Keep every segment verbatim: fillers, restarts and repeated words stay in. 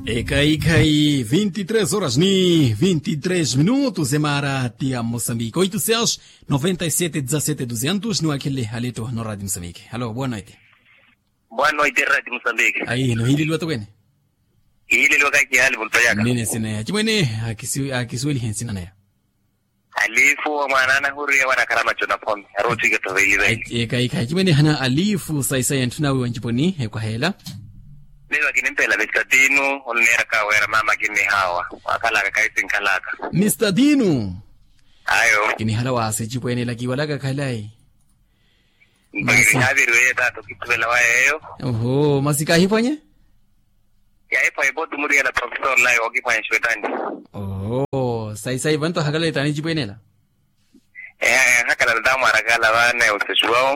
Ekhayi-khayi vinti tres horas ni vinti tres minutos emaara ti ya mosambiki oito seis noventa e sete dezasete duzentos niwakhelele haleto no radio mosambiki halo boa noite. Boa noite radio mosambiki. Ayi nohiileliwa tokwene. Kihiileliwa kakihaali mulupayaka. Nini nsina ya chimwene akisuwelihe nsina naya. Alifu wa mwaana anahuriya wanakhala macho na phome arotthiika thovelive. Ekhayi-khayi chimwene hana alifu sayi-sayi entthuna wiwa nciponi ekwaheela. Miva kinimpela mistadinu onneeraka wira mama kinnihawa wakhalaka kaisi nkhalaka. Mistadinu. Ayo. Kinihala waasi ecipwene ela kiwalaka khalayi. Masi haaviriweye taata okithuvela wa yeeyo. Oho masi kaahipwanye. Yaahipwanye pooti muriyela profesor layo wakiphwanya exwetani. Oho sayi-sayi vantu ahakalale taani ecipwene ela. Ehakalala taamwarakala vaana ewusesuwawo.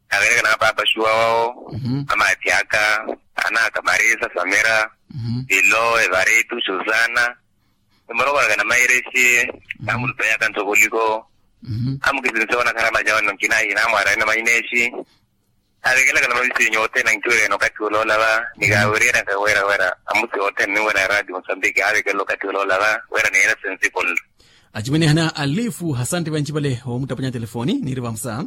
Avelekana va paapa xuwa wawo. Amaathi aka anaka marisa samira, pilo evaritu susana. Emorokorakana mairexi. Amulupeyaka nthokoliko. Amukisinse onakhala macawana nkinayi namwarayana mainexi. Aavekelaka na mavisinyu othene ankiwerya eno okathi oloola va. Nikaawiriyerya nkawera wera amusi othene ninwera ya radio mosambiki aavekelela okathi oloola va wera niyena sensiponlo. Acimwene hana alifu hasante vancipale omutapanya telefoni niiri vamusa.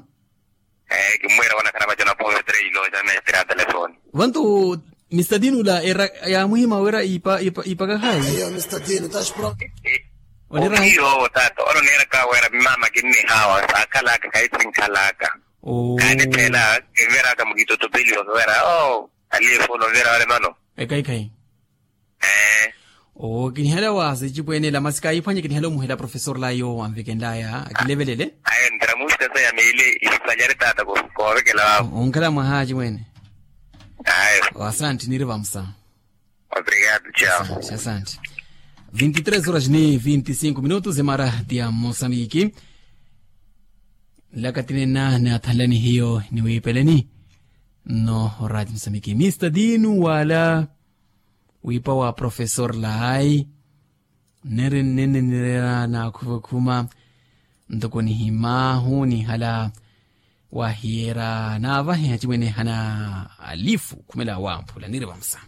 Kimmwira wanakhana vaco na pometre ilooca mestre ya telefoni. Vantu mistadinu la era yaamuhima wira iipaka hayi. Onera hayi. Owo taata oloneeraka wira mmaama kinnihawa saakhalaka kaisi nkhalaka. Kaaniphela kinveraka mukitotopeliwa kiwera oo. Alifu ononvera wale mano. Ekhayi-khayi. Owo kinihela waasi ecipwene ela masi kaayiphwanye kinihela omuhela profesor layo anvekenlaya akilevelele. Ayo ntira musikasa ya meili isipanyari taata koovekela wawo. Onkhala mwaha acimwene. Ayo. Asanti niiri vamusa. Obrigado chao. Asanti. Vinti tres horas ni vinti cinco minutos emara ti ya mosamiki. Nlaka tinena naathanlani hiyo niwiipeleni. Nno orati mosamiki mista dinu wala wiipa wa profesor layi. Niri nnenenirera naakhuvakhuma ntoko nihimaahu nihala. Wahiyera naavahe acimwene hana alifu khumela wamphula niri vamusa.